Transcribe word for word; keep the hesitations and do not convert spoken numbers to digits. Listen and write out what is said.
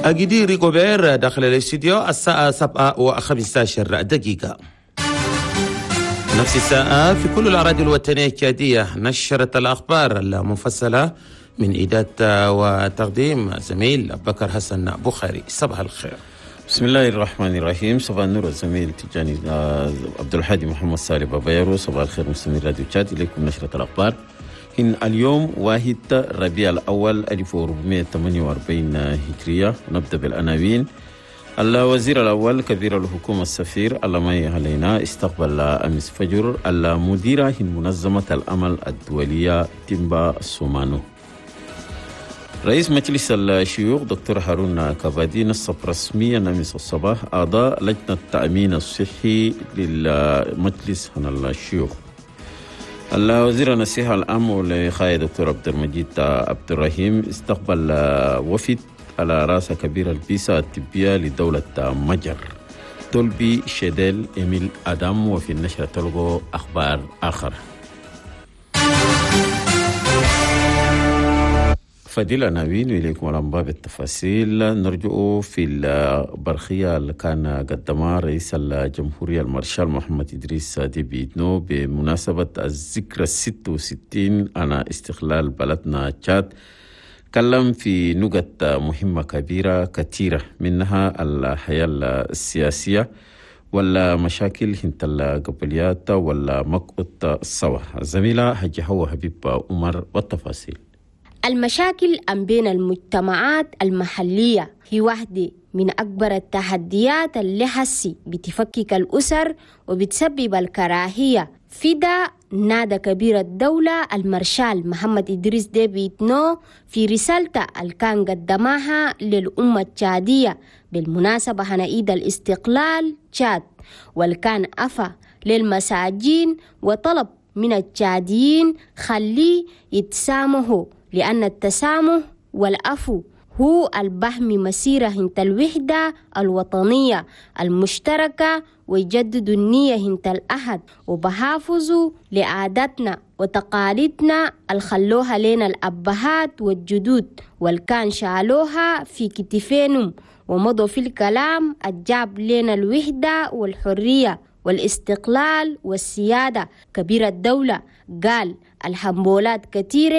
أجدي ريكوبير داخل الاستديو الساعة سبعة وخمسة عشر دقيقة. نفس الساعة في كل الأراضي الوطنية التشادية نشرة الأخبار المفصلة من إعداد وتقديم زميل بكر حسن بخاري. صباح الخير. بسم الله الرحمن الرحيم. صباح النور الزميل تجاني عبد الحادي محمد صالح بابايرو. صباح الخير مستمعي راديو تشاد، إليكم نشرة الأخبار. إن اليوم واحد ربيع الأول ألف وأربعمائة وثمانية وأربعين هجرية. نبدأ بالعناوين. الوزير الأول كبير الحكومة السفير ألمي علينا استقبل أمس فجر المديرة منظمة الأمل الدولية تيمبا سومانو. رئيس مجلس الشيوخ دكتور هارون كبادي نصب رسميا أمس الصباح أعضاء لجنة التأمين الصحي للمجلس هنا الشيوخ. الوزير النصيحة العام ولخاية دكتور عبد المجيد عبد الرحيم استقبل وفد على رأس كبير البيسة الطبية لدولة مجر تولبي شديل إميل أدم. وفي النشرة تلقوا أخبار آخر. فضيلة ناوين إليكم الأنباء بالتفاصيل. نرجع في البرخية اللي كان قدمها رئيس الجمهورية المارشال محمد إدريس ديبي إتنو بمناسبة الذكرى الست وستين على استقلال بلدنا تشاد. تكلم في نقط مهمة كبيرة كثيرة، منها الحياة السياسية ولا مشاكل هنت القبليات ولا مقعد السوا. الزميلة حجي حوا حبيب عمر والتفاصيل. المشاكل أم بين المجتمعات المحلية هي واحدة من أكبر التحديات اللي حسي بتفكك الأسر وبتسبب الكراهية. في ده نادى كبير الدولة المارشال محمد إدريس ديبي إتنو في رسالته اللي كان قدمها للأمة التشادية بالمناسبة هنا عيد الاستقلال تشاد، واللي كان أفا للمساجين وطلب من التشاديين خليه يتسامحوا، لأن التسامح والعفو هو البهم مسيرة هنت الوحدة الوطنية المشتركة، ويجددوا النية هنت الأحد، وبحافظوا لعاداتنا وتقاليدنا اللي خلوها لنا الأبهات والجدود والكان شالوها في كتفينهم ومضوا في الكلام الجاب لنا الوحدة والحرية والاستقلال والسيادة. كبير الدولة قال الحنبولات كثيرة